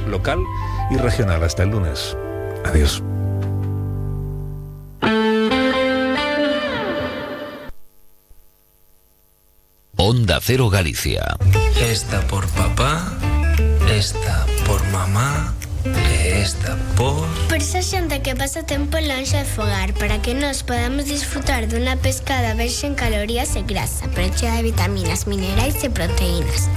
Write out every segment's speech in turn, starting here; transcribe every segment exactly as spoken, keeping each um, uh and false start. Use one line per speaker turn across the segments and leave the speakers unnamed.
local y regional. Hasta el lunes. Adiós.
Onda Cero Galicia.
Esta por papá, esta por mamá, esta por...
Por esa xente que pasa tempo lonxe de fogar, para que nos podamos disfrutar dunha pescada baixa en calorías e grasa, pero chea de vitaminas, minerais e proteínas.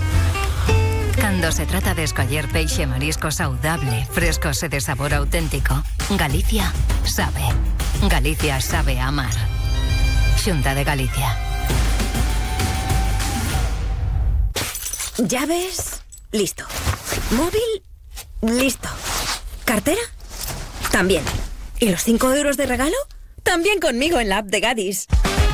Cando se trata de escoller peixe e marisco saudable, frescos e de sabor auténtico, Galicia sabe. Galicia sabe amar. Xunta de Galicia.
Llaves, listo. Móvil, listo. ¿Cartera? También. ¿Y los cinco euros de regalo? También conmigo en la app de Gadis.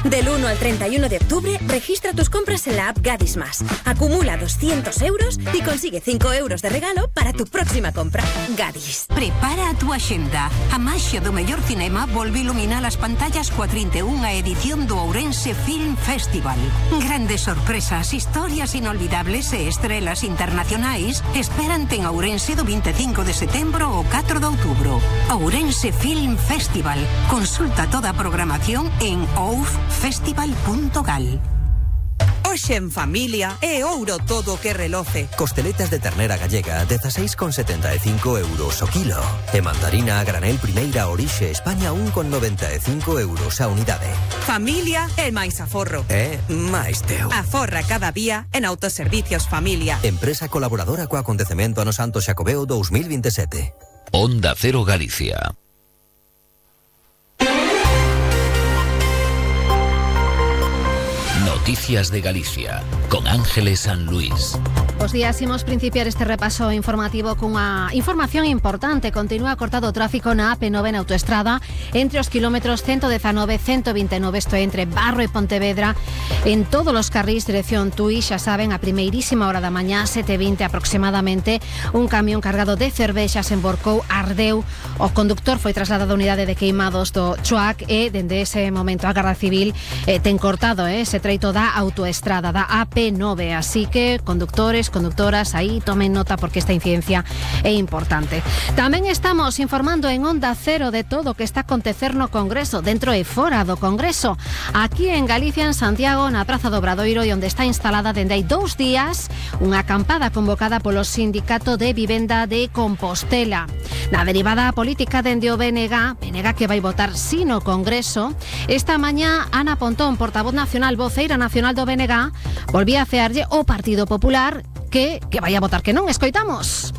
Del uno al treinta y uno de octubre, registra tus compras en la app Gadis Más. Acumula doscientos euros y consigue cinco euros de regalo para tu próxima compra. Gadis.
Prepara a tu axenda. A maxia do mellor cinema volve iluminar as pantallas coa trinta e unha edición do Ourense Film Festival. Grandes sorpresas, historias inolvidables e estrelas internacionais esperante en Ourense do vinte e cinco de setembro ao catro de outubro. Ourense Film Festival. Consulta toda a programación en ouf festival punto gal.
Hoxe en familia é ouro todo o que reloce.
Costeletas de ternera gallega, dezasseis con setenta e cinco euros o kilo. E mandarina a granel primeira orixe España, un con noventa e cinco euros a unidade.
Familia é máis aforro.
É máis teu.
Aforra cada día en Autoservicios Familia.
Empresa colaboradora co acontecemento Ano Santo Xacobeo dos mil veintisiete.
Onda Cero Galicia. Noticias de Galicia, con Ángeles San Luis.
Bos días, imos principiar este repaso informativo cunha información importante. Continúa cortado o tráfico na A P nove na autoestrada entre os kilómetros ciento diecinueve e ciento veintinueve, isto é, entre Barro e Pontevedra, en todos os carrís dirección Tui. Xa saben, a primeirísima hora da mañá, sete e vinte aproximadamente, un camión cargado de cervexas emborcou, ardeu, o conductor foi trasladado á unidade de queimados do Chuac e, dende ese momento, a Garda Civil eh, ten cortado eh, ese treito da autoestrada da A P nove, así que conductores, conductoras, aí tomen nota porque esta incidencia é importante. Tamén estamos informando en Onda Cero de todo o que está a acontecer no Congreso, dentro e fora do Congreso, aquí en Galicia, en Santiago, na Praza do Obradoiro, e onde está instalada dende hai dous días unha acampada convocada polo Sindicato de Vivenda de Compostela. Na derivada política dende o B N G, B N G que vai votar si no Congreso, esta mañá Ana Pontón, portavoz nacional, voceira nacional do B N G, volvía a cearlle o Partido Popular que, que vai a votar que non. Escoitamos.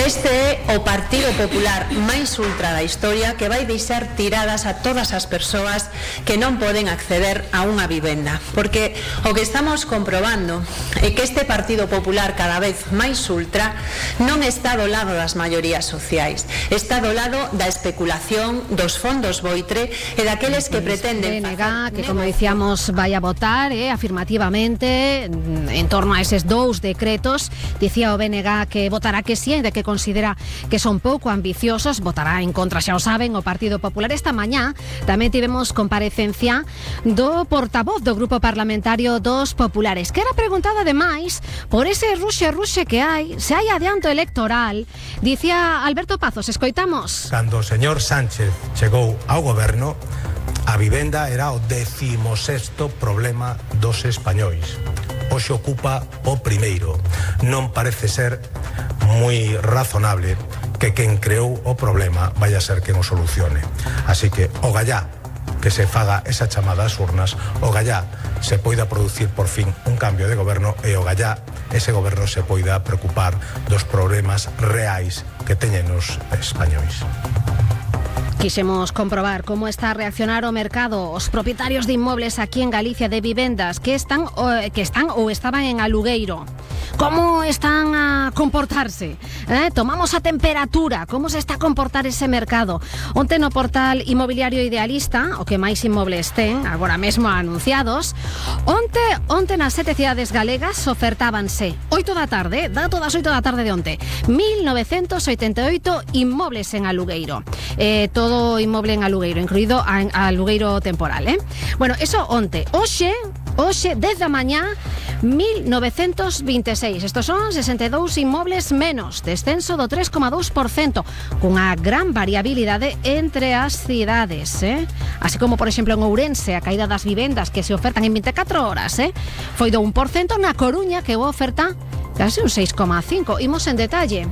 Este é o Partido Popular máis ultra da historia, que vai deixar tiradas a todas as persoas que non poden acceder a unha vivenda, porque o que estamos comprobando é que este Partido Popular cada vez máis ultra non está do lado das maiorías sociais, está do lado da especulación, dos fondos boitre e daqueles que pretenden...
B N G, que como dicíamos vai a votar eh, afirmativamente en torno a eses dous decretos. Dicía o B N G que votará que sí, de que considera que son pouco ambiciosos, votará en contra, xa o saben, o Partido Popular. Esta mañá tamén tivemos comparecencia do portavoz do Grupo Parlamentario dos Populares, que era preguntada ademais por ese ruxe-ruxe que hai, se hai adianto electoral. Dicía Alberto Pazos, escoitamos.
Cando o señor Sánchez chegou ao goberno, a vivenda era o decimosexto problema dos españois. Hoxe ocupa o primeiro. Non parece ser moi razonable que quen creou o problema vaya a ser quen o solucione. Así que o gallá que se faga esa chamada ás urnas, o gallá se poida producir por fin un cambio de goberno e o gallá ese goberno se poida preocupar dos problemas reais que teñen os españois.
Quixemos comprobar como está a reaccionar o mercado, os propietarios de inmobles aquí en Galicia, de vivendas que están, o, que están ou estaban en alugueiro. Como están a comportarse? Eh? Tomamos a temperatura, como se está a comportar ese mercado. Onte no portal Inmobiliario Idealista, o que máis inmobles ten, agora mesmo anunciados, onte, onte nas sete cidades galegas ofertábanse oito da tarde, dato das oito da tarde de onte, mil novecentos oitenta e oito inmobles en alugueiro. Eh, todo inmoble en alugueiro, incluído a, a alugueiro temporal, eh? Bueno, eso onte. Hoxe, hoxe, desde a mañá, mil novecentos vinte e seis. Estos son sesenta e dous inmobles menos, descenso do tres coma dous por cento, cunha gran variabilidade entre as cidades, eh? Así como, por exemplo, en Ourense, a caída das vivendas que se ofertan en vinte e catro horas, eh? Foi do un por cento, na Coruña, que a oferta case un seis coma cinco. Imos en detalle.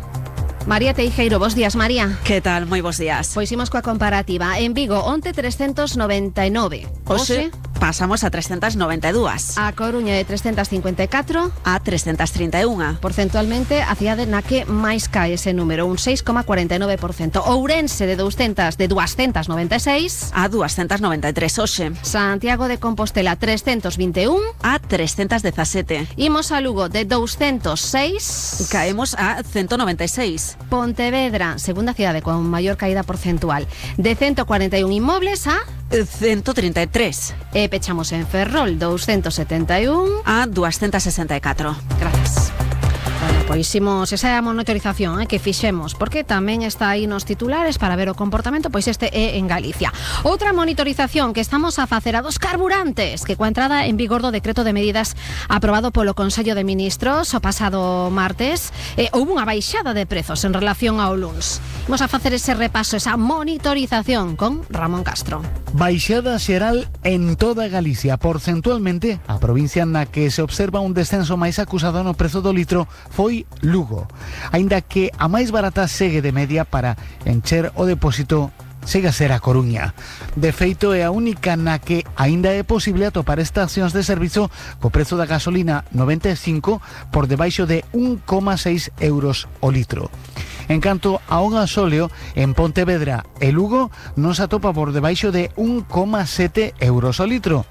María Teijeiro, bos días, María.
Que tal? Moi bos días.
Pois imos coa comparativa. En Vigo, onte trescentos noventa e nove.
Hoxe pasamos a trescentos noventa e dúas.
A Coruña de trescentos cincuenta e catro
a trescentos trinta e un.
Porcentualmente, a cidade na que máis cae ese número, un seis coma cuarenta e nove por cento. Ourense de doscientos de doscientos noventa e seis
a doscientos noventa e tres hoxe.
Santiago de Compostela trescentos vinte e un
a trescentos dezasete.
Imos a Lugo de doscientos seis,
caemos a ciento noventa e seis.
Pontevedra, segunda cidade con maior caída porcentual, de ciento cuarenta e un inmobles a
ciento treinta e tres.
E pechamos en Ferrol, doscientos setenta e un
a doscientos sesenta e catro.
Gracias. Bueno, pois imos esa é a monitorización eh, que fixemos, porque tamén está aí nos titulares para ver o comportamento, pois este é en Galicia. Outra monitorización que estamos a facer a dos carburantes, que coa entrada en vigor do decreto de medidas aprobado polo Consello de Ministros o pasado martes, eh, houve unha baixada de prezos en relación ao luns. Imos a facer ese repaso, esa monitorización con Ramón Castro.
Baixada xeral en toda Galicia. Porcentualmente, a provincia na que se observa un descenso máis acusado no prezo do litro foi Lugo, aínda que a máis barata segue de media para encher o depósito segue a ser a Coruña. De feito, é a única na que aínda é posible atopar estacións de servizo co prezo da gasolina noventa e cinco por debaixo de un coma seis euros o litro. En canto ao gasóleo, en Pontevedra e Lugo non se atopa por debaixo de un coma sete euros o litro.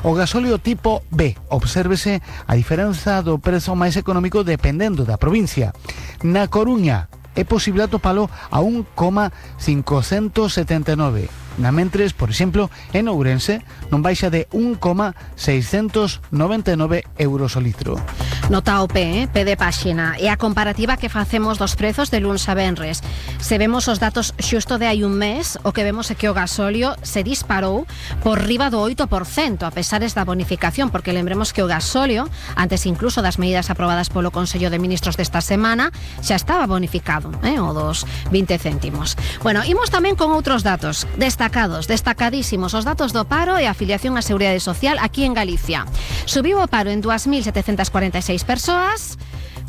O gasóleo tipo B, obsérvese a diferenza do prezo máis económico dependendo da provincia. Na Coruña é posible atopalo a un coma cincocentos setenta e nove. Na mentres, por exemplo, en Ourense non baixa de un coma seiscentos noventa e nove euros o litro.
Nota o P, eh? P de páxina. E a comparativa que facemos dos prezos de luns a venres. Se vemos os datos xusto de hai un mes, o que vemos é que o gasóleo se disparou por riba do oito por cento, a pesares da bonificación, porque lembremos que o gasóleo, antes incluso das medidas aprobadas polo Consello de Ministros desta semana, xa estaba bonificado, eh? O dos vinte céntimos. Bueno, imos tamén con outros datos destacados, destacadísimos, os datos do paro e a afiliación á Seguridade Social aquí en Galicia. Subiu o paro en dúas mil setecentas cuarenta e seis persoas,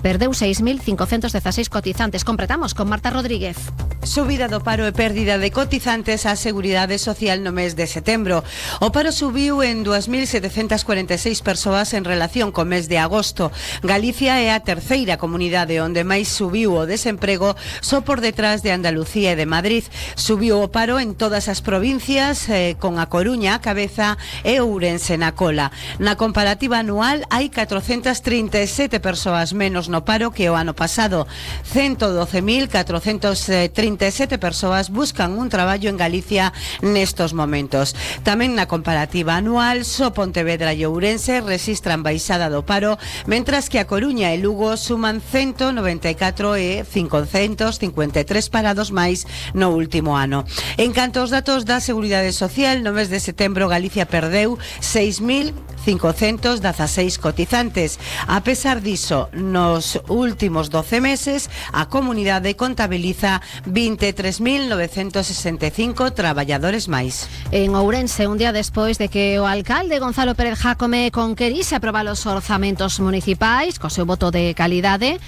perdeu seis mil cincocentos dezaseis cotizantes. Completamos con Marta Rodríguez.
Subida do paro e pérdida de cotizantes á Seguridade Social no mes de setembro. O paro subiu en dúas mil setecentas cuarenta e seis persoas en relación co mes de agosto. Galicia é a terceira comunidade onde máis subiu o desemprego, só por detrás de Andalucía e de Madrid. Subiu o paro en todas as provincias, eh, con a Coruña a cabeza e Ourense na cola. Na comparativa anual hai catrocentas trinta e sete persoas menos no paro que o ano pasado. ciento doce mil catrocentas trinta e sete persoas buscan un traballo en Galicia nestos momentos. Tamén na comparativa anual, só Pontevedra e Ourense registran baixada do paro, mentras que a Coruña e Lugo suman ciento noventa e catro e cincocentos cincuenta e tres parados máis no último ano. En canto aos datos da Seguridade Social, no mes de setembro Galicia perdeu seis mil cincocentos dezaseis cotizantes. A pesar diso, nos últimos doce meses, a comunidade contabiliza vinte e tres mil novecentos sesenta e cinco traballadores máis.
En Ourense, un día despois de que o alcalde Gonzalo Pérez Jácome conquerise aprobar os orzamentos municipais co seu voto de calidade,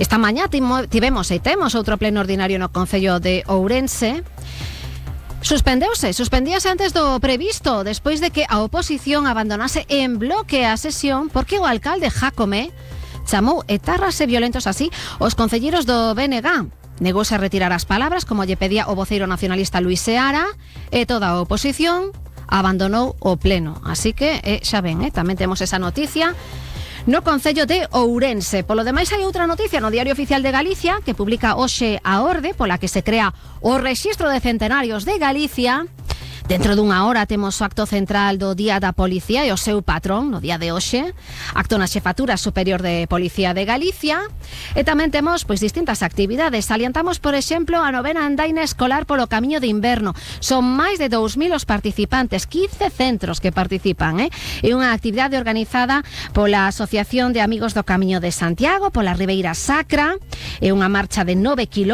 esta mañá tivemos e temos outro pleno ordinario no Concello de Ourense. Suspendeuse, suspendíase antes do previsto, despois de que a oposición abandonase en bloque a sesión porque o alcalde Jácome chamou etarras e violentos así os concelleiros do B N G. Negouse a retirar as palabras, como lle pedía o voceiro nacionalista Luís Seara, e toda a oposición abandonou o pleno. Así que, eh, xa ven, eh, tamén temos esa noticia no Concello de Ourense. Polo demais, hai outra noticia no Diario Oficial de Galicia, que publica hoxe a orde pola que se crea o Rexistro de Centenarios de Galicia. Dentro dunha hora temos o acto central do Día da Policía e o seu patrón no día de hoxe, acto na Xefatura Superior de Policía de Galicia, e tamén temos pois distintas actividades. Salientamos, por exemplo, a novena andaina escolar polo Camiño de Inverno. Son máis de dous mil os participantes, quince centros que participan, eh? É unha actividade organizada pola Asociación de Amigos do Camiño de Santiago, pola Ribeira Sacra, é unha marcha de nove kilómetros